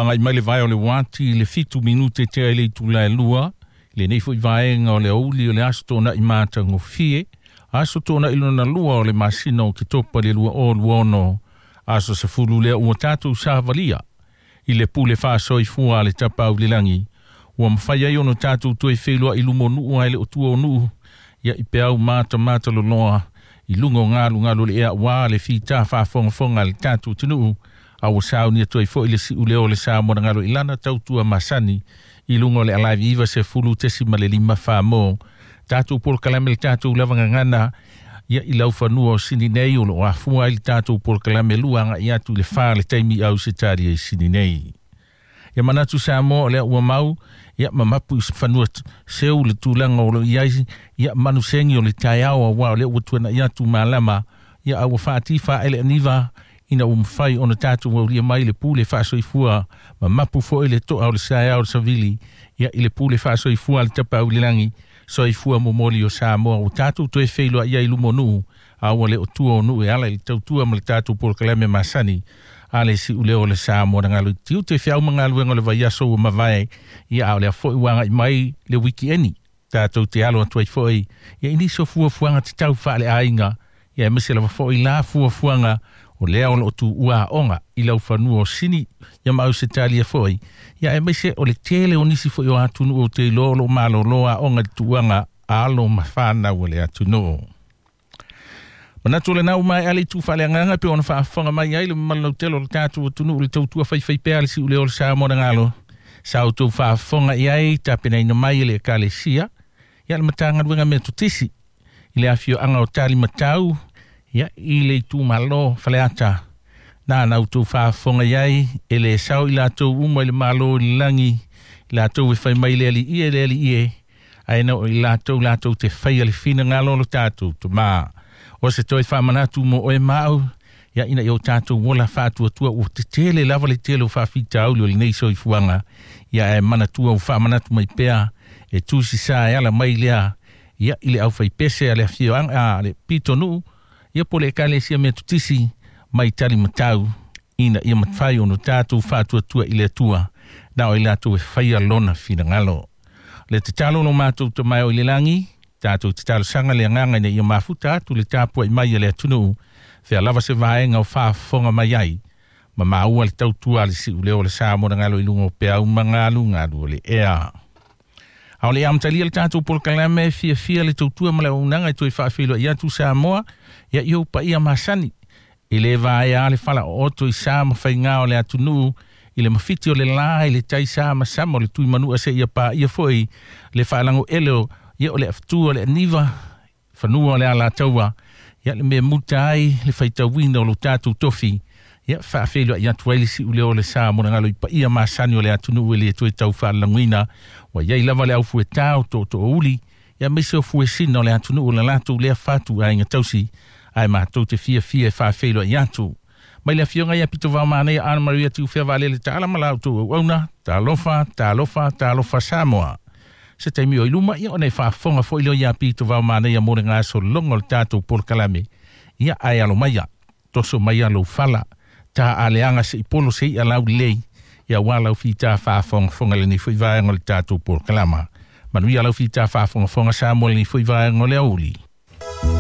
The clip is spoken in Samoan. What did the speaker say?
Ua agai mai le vae o le uati i le 7 minute tea i le itula e 2, lenei foi vaega o le aoauli o le aso Toonai matagofie, aso Toonai lona lua o le masina o Ketopa le 2026, aso 10 lea ua tatou savalia i le pule faasoifua a le Tapaau i le lagi, ua mafai ai ona tatou toe feiloai i luma o nuu ae le o tua o nuu, ia i peau matamata loloa i luga o galugalu o le ea ua le fita faafogafoga a le tatou atunuu, a ua saunia atu ai foi le siuleo o le Sa mo na galo i lana tautua masani i luga o le Alive 90.5 Famo. Tatou polokalame le tatou lava gagana ia i laufanua o Sini nei o loo afua ai le tatou polokalame 2 agai atu i le 4 le taimi Ausetalia i Sini nei. Ia manatu Samoa o lea ua mau ia mamapu i fanua seu le tulaga o lo i ai ia manusegi o le taeao auā o lea ua tuana'i atu malama ia a ua faatifa ele aniva ina ua mafai ona tatou aulia mai le pule faasoifua mamapu foi le toa o le saeao o le savili ia i le pule faasoifua a le Tapaau i le lagi. Soifua momoli o Samoa ua tatou toe feiloai ai i luma o nuu a ua le o tua o nuu e ala i le tautua ma le tatou polokalame masani a le siuleo o le Sa mo na galo i tiute feau ma galuega o le vaiaso ua mavae ia a o lea foi ua agai mai le wikieni tatou te alo atu ai foi ia i nisi o fuafuaga tatau faaleaiga ia aemaise lava foi la fuafuaga o lea o loo tuua aoga i laufanua o Sini ia ma Ausetalia foi ia aemaise o le tele o nisi foi o atunuu o te iloa o loo malolo aoga i le tuuaga alo ma fanau o le atunuu. Manatu lena ua maea le itu faaleagaga pe ona faafofoga mai ai le mamalu lautele o le tatou atunuu le tautua faifaipea le siuleo o le Sa mo na galo sa outou faafofoga i ai tapenaina mai e le Ekalesia ia le Matagaluega mea totisi i le afioaga o Talimatau ia i le itumalo Faleata na outou faafofoga i ai e le sao i latou uma i le Malo i le lagi i latou e fai mai le alii e le alii e ae na o i latou latou te faia le finagalo o lo tatou Tamā. O se toe faamanatu mo oe ma au ia ina ia o tatou ola faatuatua ua tetele lava le tele o faafitauli o lenei soifuaga ia ae manatua ua faamanatu mai pea e tusi sa e ala mai lea ia i le aufaipese a le afioaga a le pitonuu ia po le Ekalesia mea tutisi mai talimatau ina ia mafai ona tatou faatuatua i le Atua na o i latou e faia lona finagalo. Le tatalo lo matou Tama o i le lagi, tatou tatalosaga le agaga ina ia mafuta atu le tapuai mai a le atunuu fea lava se vaega o faafofoga mai ai ma maua le tautua a le siuleo o le Sa mo na galo i luga o peau ma galugalu o le ea. A o le amatalia le tatou polokalame fiafia le tautua ma le auaunaga e toe faafeiloai atu Samoa ia i ou paia masani e lē vaea le fala ooto i sa ma faigā o le atunuu i le mafiti o le lā i le tai sa ma sama o le tuimanua seia paia foi le faalagoele o ia o le afutua o le aniva fanua o le alataua ia le mea muta ai le faitauina o lo tatou tofi ia faafeiloai atu ai le siuleo o le Sa mo na galo i paia masani o le atunuu e le toe tau faalagoina ua iai lava le aufuetā o tootoouli ia aemaise o fuesina o le atunuu o le latou lea fatu aiga tausi ae matou te fiafia e faafeiloai atu mai le afioga ia Pitovao Manaia Ana Maria Tiufea Vaalele Taala ma la outou auauna. Talofa, talofa, talofa Samoa. Se taimi o i luma ia ona e faafofoga foi leo ia Pitovao Manaia mo le gasologa o le tatou polokalame ia ae alo maia toso mai lou fala ta aleaga se i polo se i alau lelei ia ua lau fita faafogafoga lenei foi vaega o le tatou polokalama. Manuia lau fita faafogafoga Samoa lenei foi vaega o le aoauli.